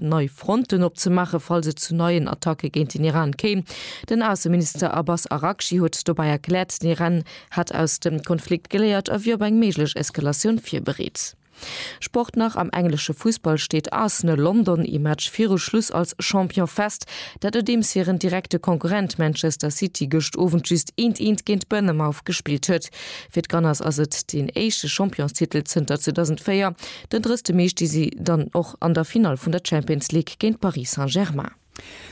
Nei Fronten opzemaachen, falls et zu neien Attacke géint den Iran kéim. Den Ausseminister Abbas Araghchi huet dobäi erkläert, den Iran hätt aus dem Konflikt geléiert a wier op eng méiglech Eskalatioun virbereet. Sport nach, Am englesche Fussball steet Arsenal London ee Match viru Schluss als Champion fest. Dat nodeems hiren direkte Konkurrent Manchester City gëscht Owend just eent eent géint Bournemouth gespillt huet. Fir d'Gunners ass et deen éischte Championstitel zënter 2004. Den 30 Mee sti si dann och an der Finall vun der Champions League géint Paris Saint-Germain.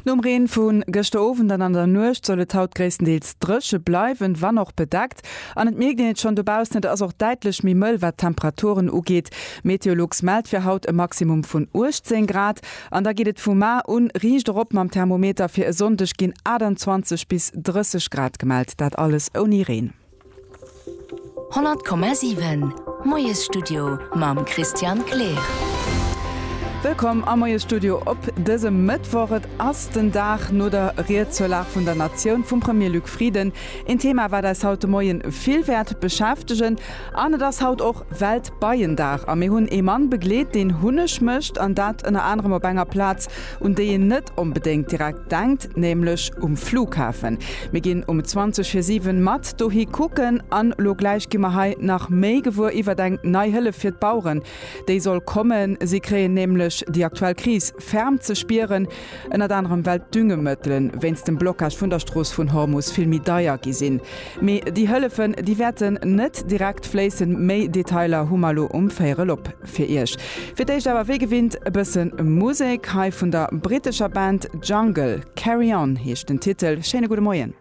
Nom Reen vu gëschter Owend an an der Nuecht soll et haut gréisstendeels dréche bleiwen, wann och bedeckt. An et mierkt een et schonn dobaussen, et ass och däitlech méi mëll wat d'Temperaturen ugeet. Meteolux mellt fir haut e Maximum vun 18 Grad an da geet et vu mar un riicht erop mam Thermometer. Fir e Sonndeg ginn 28 bis 30 Grad gemellt, dat alles ouni Reen. 100,7 Moiesstudio mam Christian Kleer. Wëllkomm am Moiesstudio op dësem Mëttwoch. Et ass den Dag no der Ried zur Lag vun der Natioun vum Premier Luc Frieden. Een Thema, wat eis haut de Moien vill wäert beschäftegen. An et ass haut och Weltbeiendag. A mir hunn ee Mann begleet, deen Hunneg mécht, an dat ënner anerem op enger Plaz, un déi een net onbedéngt direkt denkt, nämlech um Flughafen. Mir ginn um 20 vir 7 mat dohi kucken an lo gläich gi mer hei nach méi gewuer iwwert eng nei Hëllef fir d'Baueren, déi soll kommen. Si kréien nämlech déi aktuell Kris ferm ze spieren, ënnert anerem well d'Düngemëttelen wéinst dem Blocage vun der Strooss vun Hormus vill méi deier gi sinn. Mee déi Hëllefen, déi wäerten net direkt fléissen. Méi Detailer hu mer lo um Véierel op. Fir iech fir d'éischt awer wéi gewinnt e bësse Musek, hei vun der brittescher Band Jungle. Carry On heescht den Titel. Schéine gudde Moien.